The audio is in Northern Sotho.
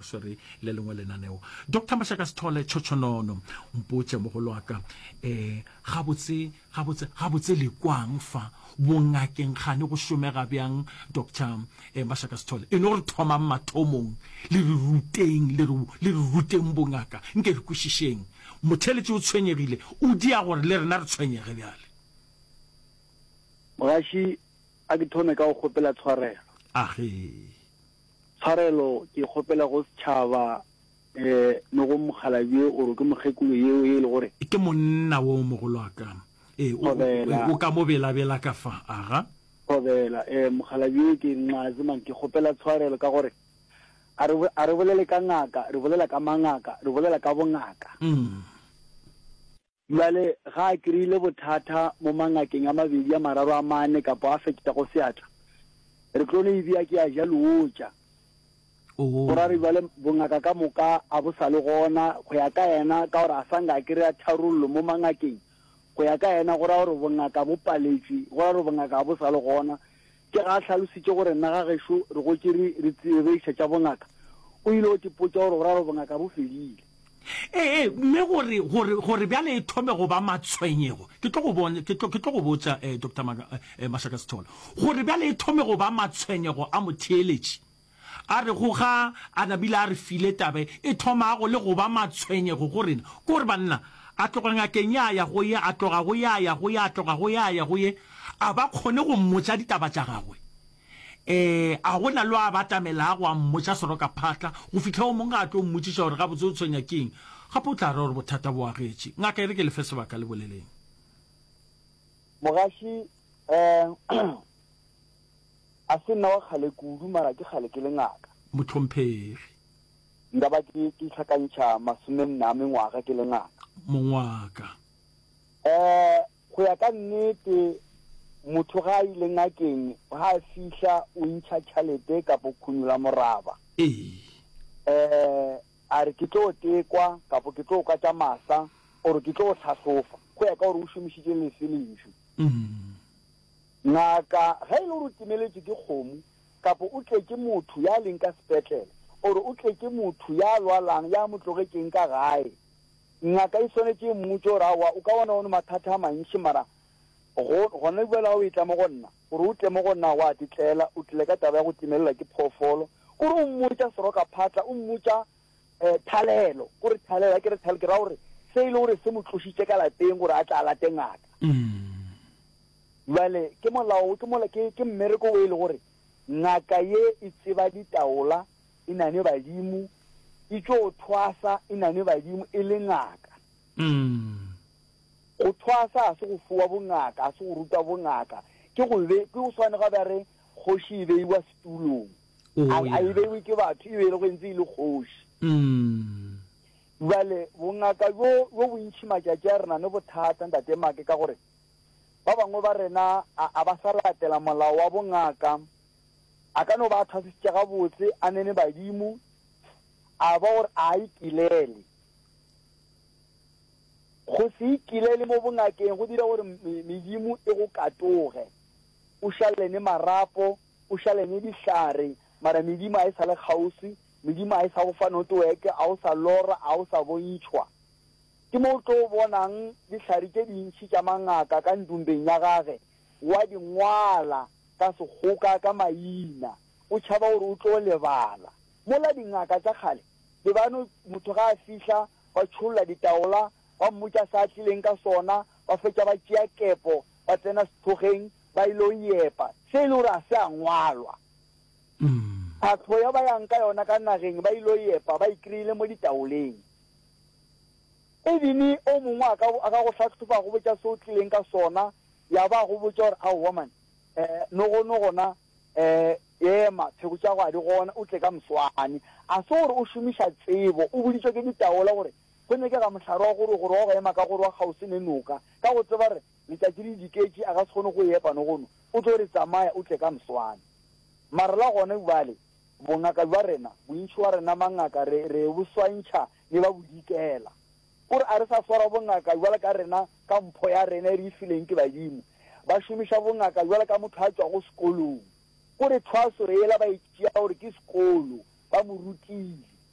swere le lengwe lenaneo. Doctor Mashaka Sithole Tšhotšhonono, mpotše mogolo wa ka, um gabotse, gabotse, gabotse le kwang fa bongakeng kgane go šomega bjang? Doctor eh, Mashaka Sithole, e no re thomang mathomong, le re ruteng, le re, le re ruteng bongaka, nke re kwešišeng. Motheeletši o tshwenyegile, o dia gore le rena re tshwenyege bjale. Mogaši, a ke thome ka go kgopela tshwarelo. Age. Tshwarelo ke e kgopela go setšhaba um le go mokgalabje oro ke mokgekolo yeo ye e le gore. Ke monna wo mogolwaka. Ee, o, Thobela. o ka mo belabela ka fa. Aga. Thobela. Ee, mokgalabje ke Nxazi man, ke kgopela tshwarelo ka gore a re, a re bolele ka ngaka, re bolela ka mangaka, re bolela ka bongaka. Mm. Bjale ga a kry-ile bothata mo mangakeng a mabedi, a mararo, a mane kapa a fetšago seatla, re tlo no e bea ke a ja leotša. Go ra re bjale bongaka ka moka a bo sa le gona go ya ka yena, ka gore a sa nka a kry-a tharollo mo mangakeng. Go ya ka yena go ra gore bongaka bo paletšwe, go ra gore bongaka ga bo sa le gona. Ke ga a hlalositše gore nna ga gešo re gotše re re re iša tša bongaka, o ile o tipotša gore go ra gore bongaka bo fedile. Ee, mme gore, gore, gore bjale e thome go ba matshwenyego, ke tlo go bon, ke tlo, ke tlo go botša, eh, Doctor Maka, eh, Mashaka Sithole, gore bjale e thome go ba matshwenyego a motheeletši, a re go ga a nabile a re file taba e, e thomago le go ba matshwenyego go rena, ke gore banna, a tloga ngakeng ya ya go ye, a tloga go ya ya go ye, a tloga go ya ya go ye, a ba kgone go mmotša ditaba tša gagwe. Ee, a go na le yo a batamelago a mmotša serokaphatla go fihla o mongwe a tlo mmotšiša gore gabotse o tshwenya ke eng. Gape o tla ra gore bothata bo agetše. Ngaka e re ke le fe sebaka le boleleng. Mogaši, Eh, a se nna wa kgale kudu mara ke kgale ke le ngaka. Mohlomphegi. Nka ba ke ke hlakantšha masomenne a mengwaga ke le ngaka. Mongwaka. Eh, Go ya ka nnete, motho ga a ile ngakeng, ga a fihla o ntšha tšhalete kapo khunyola moraba. Ee. Eh, a re ke tlo tekwa kapo ke tlo kwa tša masa or ke tlo hlahlofa, go ya ka gore o šomišitše lefe lentšu. Ngaka ge e le gore o timeletšwe ke kgomo kapo o tletše motho ya leng ka sepetlele or o tletše motho ya lwalang ya mo tlogetšeng ka gae, Ngaka e swanetše e mmotše gore, Aowa, o ka bona o ne mathata a mantši, mara go, gona bjale ga o etla mo go nna, gore o tle mo go nna wa tletlela, o tlile ka taba ya go timelelwa ke phoofolo. Kore o mmotša serokaphatla, o mmotša um thalelo, kore thalelo, ga ke re thalelo, ke ra gore se e le gore se mo tlošitše ka lapeng gore a tle a late ngaka. Bjale ke molao, ke mola, ke, ke mmereko o e le gore ngaka ye e tseba ditaola, e na ne badimo, e tšo thwasa e na ne badimo e le ngaka. Go thwasa ga se go fiwa bongaka, ga se go rutwa bongaka, ke go be, ke go swane ga ba re kgoši e beiwa setulong. Oh, A, a e yeah. beiwe ke batho, e be e le go ntse e le kgoši. Bjale bongaka bjo, bjo bontši matšatši a re na ne bothata Ntate Make ka gore ba bangwe ba rena a, a ba sa latela molao wa bongaka. A ka no ba a thwasisitše gabotse, a nene badimo, a ba gore a a ikilele. Go se ikilele mo bongakeng go dira gore medimo e go katoge. O šalene marapo, o šalene dihlare, mara medimo a e sa le kgauswi, medimo a e sa go fa notoweke, a o sa lora, a o sa bontšhwa. Ke mo o tlo bonang dihlare tše dintši tša mangaka ka ndumbeng ya gage, wa di ngwala ka sekgoka ka maina, o tšhaba gore o tlo lebala. Mola dingaka tša kgale be ba no, motho ga a fihla ba tšholla ditaola, ba mmotša se a tlileng ka sona, ba fetša ba tšea kepo ba tsena sethokgeng ba ilo epa, se e le gore ga se a ngwalwa. Phahlo ya ba yang ka yona ka nageng ba ilo epa ba e kry-ile mo ditaoleng. Ebile o mongwe a ka, a ka go hlahloba a go botša se o tlileng ka sona, ya ba a go botša gore, Aowa man, eh, nogono gona, eh, ema, pheko tša go a di gona, o tle ka moswane. A se gore o šomiša tsebo, o boditšwe ke ditaola gore go nyakega mohlare wa gore, gore wa go ema ka gore wa kgauswi ne noka, ka go tseba gore letšatši le diketše, a ka se kgone go e epa nogono, o tlo re tsamaya o tle ka moswane. Mara la gona bjale, bongaka bja rena, bontši wa rena mangaka re, re bo swantšha ne ba bodikela. O re a re sa swara bongaka bjalo ka rena ka mpho ya rena e re e fileng ke badimo. Ba šomiša bongaka bjalo ka motho a tšwago sekolong. O re thwaso yela ba e tšea gore ke sekolo, ba mo rutile.